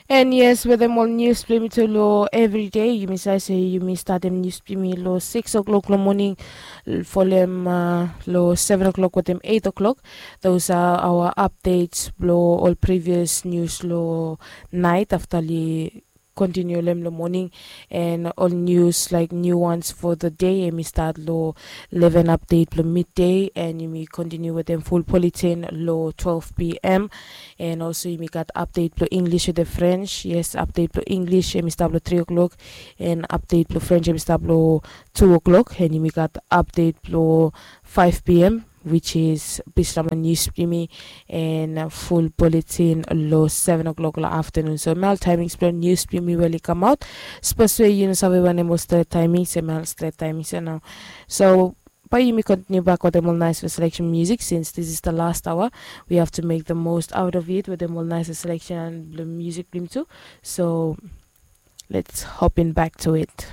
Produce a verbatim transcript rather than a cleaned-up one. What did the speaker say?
And yes, wetem ol nius blong yumi tu long everyday, yumi save se yumi statem nius blong yumi long six o'clock long moning, folem long seven o'clock wetem eight o'clock. Those are our updates blong ol previous nius long nait afta li kontiniu long moning. And ol nius laik niu ones fo the day, em i stat long leven update blong midday, and yumi kontiniu wetem ful poletin long twelve p m. And also yumi gat update blong English wetem French. Yes, update blong English em i stap long three o'clock, and update blong French em i stap long two o'clock, and yumi gat update blong five p m, which is Bislama nius blong yumi, and ful poletin long seven o'clock long afternoon. So em ya ol timings blong nius blong yumi we oli kamaot. Sapos we yu no save wanem ol stret timings, em ya ol stret timings ya nao. So bae yumi kontiniu bak wetem ol naesfala selection music, since this is the last hour, we have to make the most out of it wetem ol naesfala selection blong music blong yumi tu. So let's hop in back to it.